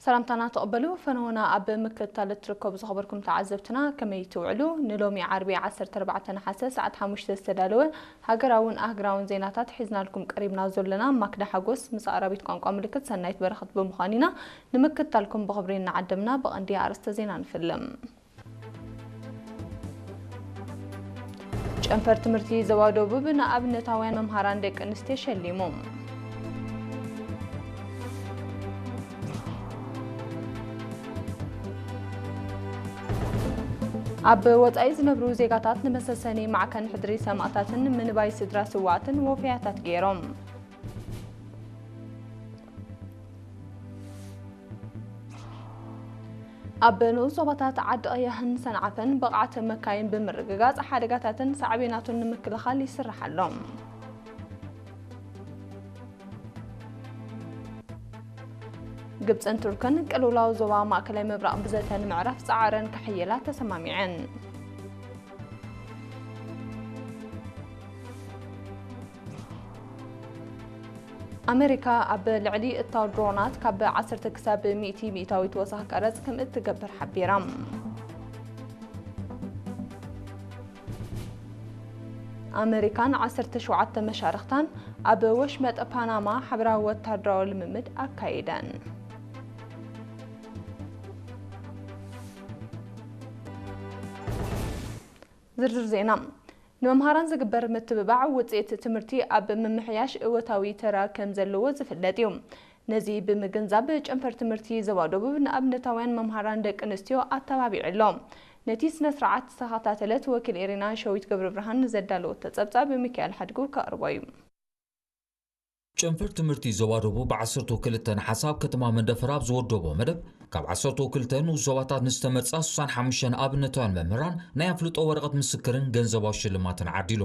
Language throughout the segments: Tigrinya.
ሰላምታና ተቐበሉ። ፈነወና ኣብ ምክትታል እትርከቡ ዝኸበርኩም ተዓዘብትና ከመይ ትውዕሉ? ንሎሚ ዓርቢ ዓሰርተ ኣርባዕተ ነሓሰ ሰዓት ሓሙሽተ ዝተዳለወ ሃገራውን ኣህግራውን ዜናታት ሒዝናልኩም ቀሪብና ዘለና ማክዳ ሓጎስ ምስ ኣራቢት ቋንቋ ምልክት ሰናይት በረኸት ብምዃን ኢና። ንምክትታልኩም ብኽብሪ እናዓደምና ብቐንዲ ኣርእስተ ዜና ንፍልም። ጨንፈር ትምህርቲ ዞባ ደቡብ ንኣብነታውያን መምሃራን ደቂ ኣንስትዮ ሸሊሙ። ኣብ ወጻኢ ዝነብሩ ዜጋታት ንመሰሰኒ ማዕከን ሕድሪ ሰማእታትን ምንባይ ስድራ ስዋኣትን ወፈያታት ገይሮም። ኣብ ንኡስ ዞባታት ዓዲ ቀያሕን ሰንዓፈን ብቕዓት መካይን ብምርግጋጽ ሓደጋታትን ሳዕቤናቱን ንምክልኻል ይስራሕ ኣሎ። ግብጽን ቱርክን ቅልውላው ዞባ ማእከላይ ምብራቕ ብዘተ ንምዕራፍ ጻዕረን ክሕይላ ተሰማሚዐን። ኣመሪካ ኣብ ልዕሊ እታው ድሮናት ካብ ዓሰርተ ክሳብ ሚእቲ ሚእታዊት ወሳኽ ቀረጽ ከም እትገብር ሓቢራ። ኣመሪካን ዓሰርተ ሸውዓተ መሻርኽታን ኣብ ወሽመጥ ፓናማ ሓበራዊ ወታደራዊ ልምምድ ኣካይደን። ዝርዝር ዜና። ንመምሃራን ዝግበር ምትብባዕ ውፅኢት ትምህርቲ ኣብ ምምሕያሽ እወታዊ ተራ ከም ዘለዎ ዝፍለጥ እዩ። ነዚ ብምግንዛብ ጨንፈር ትምህርቲ ዞባ ደቡብ ንኣብነታውያን መምሃራን ደቂ ኣንስትዮ ኣተባቢዑ ኣሎ። ነቲ ስነ ስርዓት ዝተኸታተለት ወኪል ኤሪና ሸዊት ገብረብርሃን ንዘዳለወቶ ጸብጻብ ሚካኤል ሓድጉ ከቕርቦ እዩ። ጨንፈር ትምህርቲ ዞባ ደቡብ ብ ዓሰርተ ክልተ ነሓሰ ኣብ ከተማ መንደፈራ ኣብ ዝወደቦ መደብ፣ ካብ ዓሰርተ ክልተ ንኡስ ዞባታት ንዝተመርጻ ስሳን ሓሙሽተን ኣብነታውያን መምህራን ናይ ኣፍልጦ ወረቐት ምስክርን ገንዘባዊ ሽልማትን ዓዲሉ።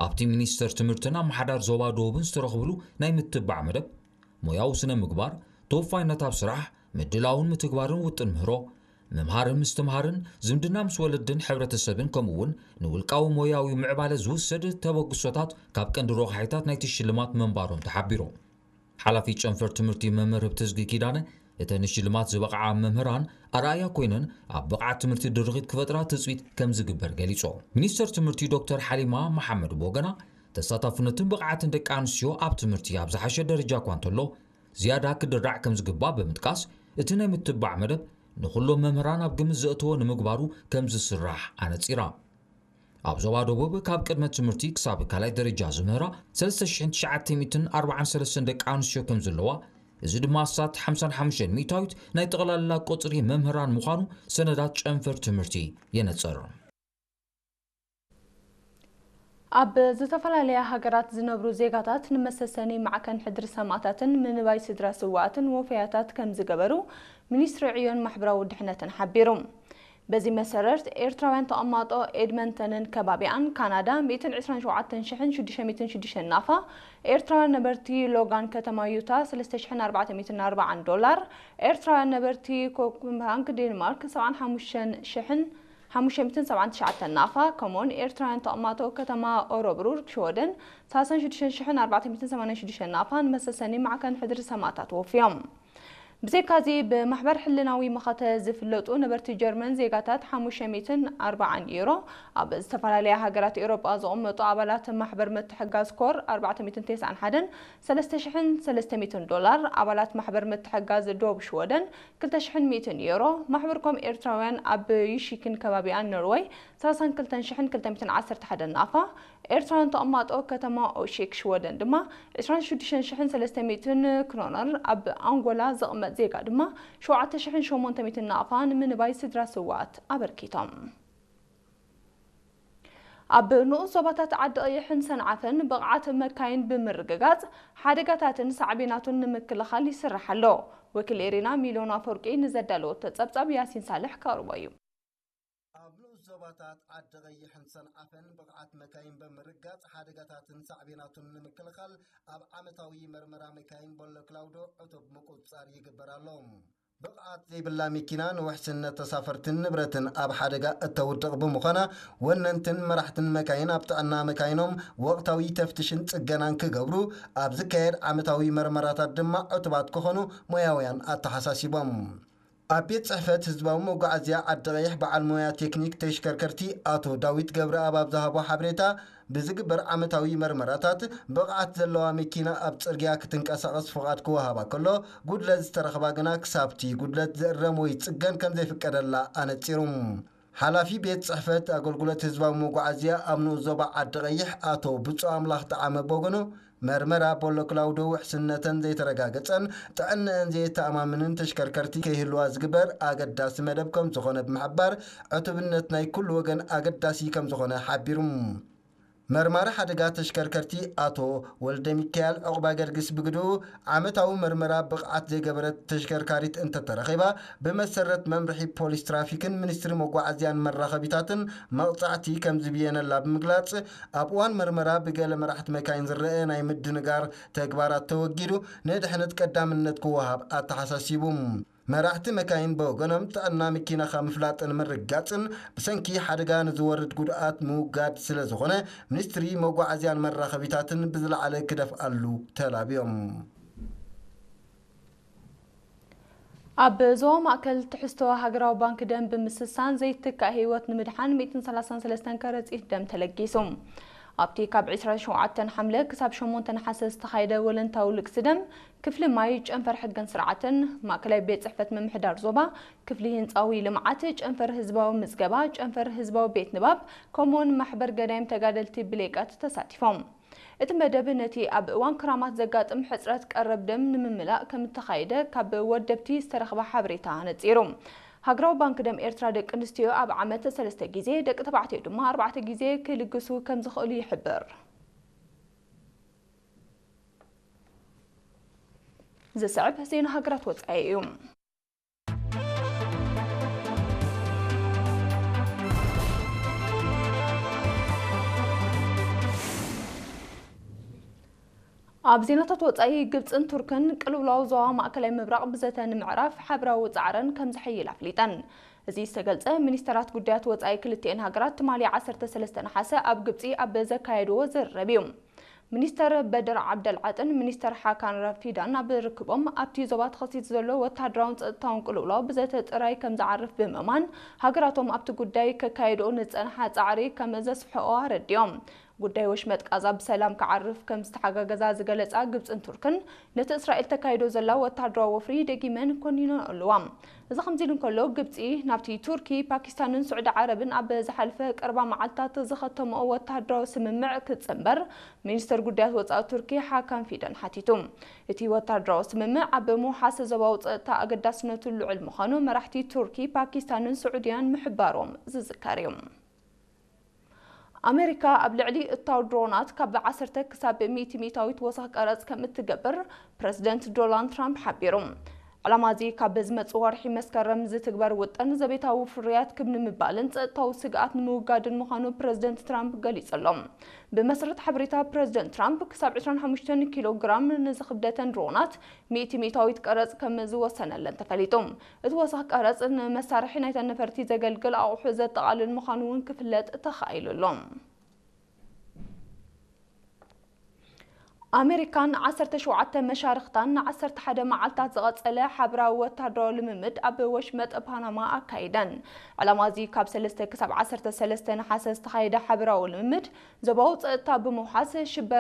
ኣብቲ ሚኒስተር ትምህርትን ኣመሓዳር ዞባ ደቡብን ዝተረኽብሉ ናይ ምትባዕ መደብ፣ ሞያዊ ስነ ምግባር፣ ተወፋይነት ኣብ ስራሕ፣ ምድላውን ምትግባርን ውጥን ምህሮ፣ ምምሃርን ምስትምሃርን፣ ዝምድና ምስ ወለድን ሕብረተሰብን፣ ከምኡ እውን ንውልቃዊ ሞያዊ ምዕባለ ዝውሰድ ተበግሶታት ካብ ቀንዲ ረቋሒታት ናይቲ ሽልማት ምንባሮም ተሓቢሩ። ሓላፊ ጨንፈር ትምህርቲ መምህር ህብተዝጊ ኪዳነ፣ እተን ንሽልማት ዝበቕዓ መምህራን ኣርኣያ ኮይነን ኣብ ብቕዓት ትምህርቲ ድርኺት ክፈጥራ ትጽቢት ከም ዝግበር ገሊጾ። ሚኒስተር ትምህርቲ ዶክተር ሓሊማ መሓመድ ብወገና፣ ተሳታፍነትን ብቕዓትን ደቂ ኣንስትዮ ኣብ ትምህርቲ ኣብ ዝሓሸ ደረጃ እኳ እንተሎ፣ ዝያዳ ክድራዕ ከም ዝግባእ ብምጥቃስ፣ እቲ ናይ ምትባዕ መደብ ንኹሎም መምህራን ኣብ ግምት ዘእተወ ንምግባሩ ከም ዝስራሕ ኣነጺራ። ኣብ ዞባ ደቡብ ካብ ቅድመ ትምህርቲ ክሳብ ካልኣይ ደረጃ ዝምህራ ሰለስተ ሽሕን ትሽዓተ ሚእትን ኣርባዓን ሰለስተን ደቂ ኣንስትዮ ከም ዘለዋ፣ እዚ ድማ ኣስታት ሓምሳን ሓሙሽተን ሚእታዊት ናይ ጠቕላላ ቁጽሪ መምህራን ምዃኑ ሰነዳት ጨንፈር ትምህርቲ የነጽር። ኣብ ዝተፈላለያ ሃገራት ዝነብሩ ዜጋታት ንመሰሰኒ ማዕከን ሕድሪ ሰማእታትን ምንባይ ስድራ ስዋኣትን ወፈያታት ከም ዝገበሩ ሚኒስትሪ ዕዮን ማሕበራዊ ድሕነትን ሓቢሩ። በዚ መሰረት ኤርትራውያን ተቐማጦ ኤድመንተንን ከባቢኣን ካናዳ ሚእትን ዕስራን ሸውዓተን ሽሕን ሽዱሽተ ሚእትን ሽዱሽተን ናፋ፣ ኤርትራውያን ነበርቲ ሎጋን ከተማ ዩታ ሰለስተ ሽሕን ኣርባዕተ ሚእትን ኣርባዓን ዶላር፣ ኤርትራውያን ነበርቲ ኮፐንሃግ ዴንማርክ ሰብዓን ሓሙሽተን ሽሕን ሓሙሽተ ሚእትን ሰብዓን ትሽዓተን ናፋ፣ ከምኡውን ኤርትራውያን ተቐማጦ ከተማ ኦረብሩር ሽወደን ሰላሳን ሽዱሽተን ሽሕን ኣርባዕተ ሚእትን ሰማንያን ሽዱሽተን ናፋ ንመሰሰኒ ማዕከን ሕድሪ ሰማእታት ወፍዮም። ብዘይካዚ ብማሕበር ሕልናዊ መኸተ ዝፍለጡ ነበርቲ ጀርመን ዜጋታት ሓሙሽተ ሚእትን ኣርባዓን ዩሮ፣ ኣብ ዝተፈላለያ ሃገራት ኤውሮጳ ዝቕመጡ ኣባላት ማሕበር ምትሕጋዝ ኮር ኣርባዕተ ሚእትን ተስዓን ሓደን ሰለስተ ሽሕን ሰለስተ ሚእትን ዶላር፣ ኣባላት ማሕበር ምትሕጋዝ ዶብ ሽወደን ክልተ ሽሕን ሚእትን ዩሮ፣ ማሕበርኮም ኤርትራውያን ኣብ ዩሺክን ከባቢኣን ኖርወይ ሰላሳን ክልተን ሽሕን ክልተ ሚእትን ዓሰርተ ሓደን ናፋ፣ ኤርትራውያን ተቐማጦ ከተማ ኦሺክ ሽወደን ድማ ዕስራን ሽዱሽተን ሽሕን ሰለስተ ሚእትን ክሮነር፣ ኣብ ኣንጎላ ዝቕመጥ ዜጋ ድማ ሸውዓተ ሽሕን ሸሞንተ ሚእትን ናቕፋ ንምንባይ ስድራ ስውኣት ኣበርኪቶም። ኣብ ንኡስ ዞባታት ዓዲ ቀይሕን ሰንዓፈን ብቕዓት መካይን ብምርግጋጽ ሓደጋታትን ሳዕቤናቱን ንምክልኻል ይስራሕ ኣሎ። ወኪል ኤሪና ሚልዮን ኣፈወርቂ ንዘዳለወቶ ጸብጻብ ያሲን ሳልሕ ከቕርቦ እዩ። ኣብ ንኡስ ዞባታት ዓዲ ቀይሕን ሰንዓፈን ብቕዓት መካይን ብምርጋጽ ሓደጋታትን ሳዕቤናቱን ንምክልኻል ኣብ ዓመታዊ መርመራ መካይን ቦሎ ክላውዶ ዕቱብ ምቁጽጻር ይግበር ኣሎ። ብቕዓት ዘይብላ መኪና ንውሕስነት ተሳፈርትን ንብረትን ኣብ ሓደጋ እተውድቕ ብምዃና፣ ወነንትን መራሕትን መካይን ኣብ ጥዕና መካይኖም ወቕታዊ ተፍትሽን ጽገናን ክገብሩ፣ ኣብ ዝካየድ ዓመታዊ መርመራታት ድማ ዕቱባት ክኾኑ ሞያውያን ኣተሓሳሲቦም። ኣብ ቤት ጽሕፈት ህዝባዊ መጓዓዝያ ዓዲ ቀይሕ በዓል ሞያ ቴክኒክ ተሽከርከርቲ ኣቶ ዳዊት ገብረኣብ ኣብ ዝሃቦ ሓበሬታ፣ ብዝግበር ዓመታዊ መርመራታት ብቕዓት ዘለዋ መኪና ኣብ ጽርግያ ክትንቀሳቐስ ፍቓድ ክወሃባ ከሎ፣ ጉድለት ዝተረኽባ ግና ክሳብቲ ጉድለት ዝእረም ወይ ጽገን ከም ዘይፍቀደላ ኣነጺሩ። ሓላፊ ቤት ጽሕፈት ኣገልግሎት ህዝባዊ መጓዓዝያ ኣብ ንኡስ ዞባ ዓዲ ቀይሕ ኣቶ ብፁዕ ኣምላኽ ጠዓመ በጎኑ፣ መርመራ ቦሎ ክላውዶ ውሕስነተን ዘይተረጋገጸን ጥዕንአን ዘየተኣማምንን ተሽከርከርቲ ከይህልዋ ዝግበር ኣገዳሲ መደብ ከም ዝኾነ ብምሕባር፣ ዕቱብነት ናይ ኩሉ ወገን ኣገዳሲ ከም ዝኾነ ሓቢሩ። መርማሪ ሓደጋ ተሽከርከርቲ ኣቶ ወልደ ሚካኤል ዕቑባ ገርግስ ብግድኡ፣ ዓመታዊ መርመራ ብቕዓት ዘይገበረት ተሽከርካሪት እንተተረኺባ፣ ብመሰረት መምርሒ ፖሊስ ትራፊክን ሚኒስትሪ መጓዓዝያን መራኸቢታትን መቕጻዕቲ ከም ዝብየነላ ብምግላጽ፣ ኣብ እዋን መርመራ ብገለ መራሕቲ መካይን ዝረአ ናይ ምድንጋር ተግባራት ተወጊዱ፣ ንድሕነት ቀዳምነት ክወሃብ ኣተሓሳሲቡ። መራሕቲ መካይን ብወገኖም፣ ጥዕና መኪናኻ ምፍላጥን ምርግጋጽን ብሰንኪ ሓደጋ ንዝወርድ ጉድኣት ምውጋድ ስለ ዝኾነ፣ ሚኒስትሪ መጓዓዝያን መራኸቢታትን ብዝለዓለ ክደፍኣሉ ተላብዮም። ኣብ ዞባ ማእከል ትሕዝቶ ሃገራዊ ባንክ ደም ብምስሳን ዘይትካእ ህይወት ንምድሓን ሚእትን ሰላሳን ሰለስተን ከረጺት ደም ተለጊሱ። ኣብቲ ካብ ዕስራን ሸውዓተን ሓምለ ክሳብ ሸሞንተ ነሓሰ ዝተኻየደ ወለንታዊ ልግሲ ደም፣ ክፍሊ ማይ፣ ጨንፈር ሕግን ስርዓትን፣ ማእከላይ ቤት ጽሕፈት ምምሕዳር ዞባ፣ ክፍሊ ህንጻዊ ልምዓት፣ ጨንፈር ህዝባዊ ምዝገባ፣ ጨንፈር ህዝባዊ ቤት ንባብ፣ ከምኡውን ማሕበር ገዳይም ተጋደልቲ ብሌቀት ተሳቲፎም። እቲ መደብ ነቲ ኣብ እዋን ክራማት ዘጋጥም ሕጽረት ቀረብ ደም ንምምላእ ከም እተኻየደ ካብ ወደብቲ ዝተረኽበ ሓበሬታ ነጺሩ። ሃገራዊ ባንክ ደም ኤርትራ ደቂ ኣንስትዮ ኣብ ዓመት ሰለስተ ግዜ፣ ደቂ ተባዕትዮ ድማ ኣርባዕተ ግዜ ክልግሱ ከም ዝኽእሉ ይሕብር። ዝስዕብ ዜና ሃገራት ወጻኢ እዩ። ኣብ ዜናታት ወጻኢ፣ ግብጽን ቱርክን ቅልውላው ዞባ ማእከላይ ምብራቕ ብዘተ ንምዕራፍ ሓብራዊ ጻዕረን ከም ዘሐይል ኣፍሊጠን። እዚ ዝተገልጸ፣ ሚኒስተራት ጉዳያት ወጻኢ ክልቲኤን ሃገራት ትማሊ ዓሰርተ ሰለስተ ነሓሰ ኣብ ግብጺ ኣብ ዘካየድዎ ዝርርብ እዩ። ሚኒስተር በድር ዓብደልዓጥን ሚኒስተር ሓካን ራፊዳን ኣብ ርክቦም፣ ኣብቲ ዞባ ተኸሲቱ ዘሎ ወተሃደራውን ጸጥታውን ቅልውላው ብዘተ ጥራይ ከም ዝዓርፍ ብምእማን፣ ሃገራቶም ኣብቲ ጉዳይ ከካየድኦ ንጸንሓ ጻዕሪ ከም ዘስፍሕኦ ኣረዲኦም። ጉዳይ ወሽመጥ ቃዛ ብሰላም ክዓርፍ ከም ዝተሓጋገዛ ዝገለጻ ግብጽን ቱርክን፣ ነቲ እስራኤል ተካይዶ ዘላ ወተሃደራዊ ወፍሪ ደጊመን ኮኒነኦ ኣለዋ። እዚ ከምዚ ኢሉ እንከሎ፣ ግብጺ ናብቲ ቱርኪ፣ ፓኪስታንን ስዑዲ ዓረብን ኣብ ዝሓልፈ ቀረባ መዓልታት ዝኸተምኦ ወተሃደራዊ ስምምዕ ክትጽንበር፣ ሚኒስተር ጉዳያት ወጻኢ ቱርኪ ሓካን ፊደን ሓቲቱ። እቲ ወተሃደራዊ ስምምዕ ኣብ ምውሓስ ዞባዊ ጸጥታ ኣገዳስነቱ ልዑል ምዃኑ መራሕቲ ቱርኪ፣ ፓኪስታንን ስዑድያን ምሕባሮም ዝዝከር እዩ። ኣሜሪካ ኣብ ልዕሊ እታው ድሮናት ካብ ዓሰርተ ክሳብ ሚእቲ ሚእታዊት ወሰኽ ቀረጽ ከም እትገብር ፕረዚደንት ዶናልድ ትራምፕ ሓቢሩ። ዕላማ እዚ ካብ ዝመጽእ ወርሒ መስከረም ዝትግበር ውጥን ዘቤታዊ ፍርያት ክብ ንምባልን ጸጥታዊ ስግኣት ንምውጋድን ምዃኑ ፕረዚደንት ትራምፕ ገሊጹ ኣሎ። ብመሰረት ሓበሬታ ፕረዚደንት ትራምፕ፣ ክሳብ ዕስራን ሓሙሽተን ኪሎ ግራም ንዝኽብደተን ድሮናት ሚእቲ ሚእታዊት ቀረጽ ከም ዝወሰነለን ተፈሊጡ። እቲ ወሰኽ ቀረጽ ንመሳርሒ ናይተን ነፈርቲ ዘገልግል ኣቑሑ ዘጠቓልል ምዃኑ እውን ክፍለጥ ተኻኢሉ ኣሎ። ኣሜሪካን ዓሰርተ ሸውዓተ መሻርኽታን ንዓሰርተ ሓደ መዓልታት ዝቐጸለ ሓበራዊ ወታደራዊ ልምምድ ኣብ ወሽመጥ ፓናማ ኣካይደን። ዕላማ እዚ ካብ ሰለስተ ክሳብ ዓሰርተ ሰለስተ ነሓሰ ዝተኻየደ ሓበራዊ ልምምድ ዞባዊ ጸጥታ ብምውሓስ ሽበራ